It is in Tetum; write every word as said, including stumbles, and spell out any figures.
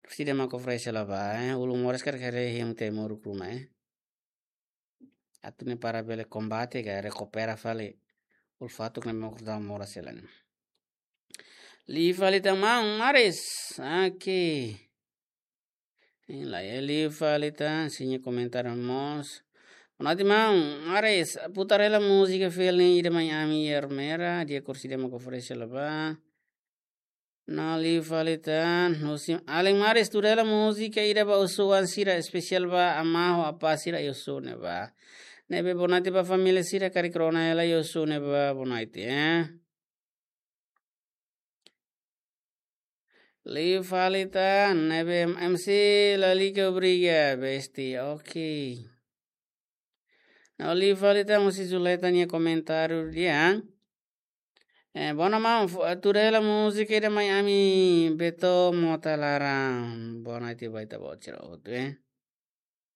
Kursida mak oferese la ba, eh. Ulun moras karik haree hemu te moruk ruma, eh. Atu ne'e para bele kombate ka rekupera fali ulfatuk ne'ebé mak dala moras hela ne'e. Liu fali tan maun Maris. Oke. Entaun, eh, liu fali tan, sira-nia komentáriu mós. Bonoite maun Maris, putar hela múzika fiel ne'e Ida Mai Ami Ermera, di'ak, kursida mak oferese la ba. No liu fali tan, husi alin Maris, tuur hela múzika ida ba osan sira, espesiál ba amá ho apá sira iha osan ne'ebá. Ne'ebé bonoite ba família sira karik rona hela iha osan ne'ebá, bonoite, eh. Liu fali tan, ne'ebé M C lalika obriga, besti, oke. No liu fali tan, husi Zuleta nia komentáriu dehan. Eh, bonoite maun, fu-, tuur hela múzika Ida Mai Ami Beto Mota Laran. Bonoite ba ita-boot sira hotu, eh.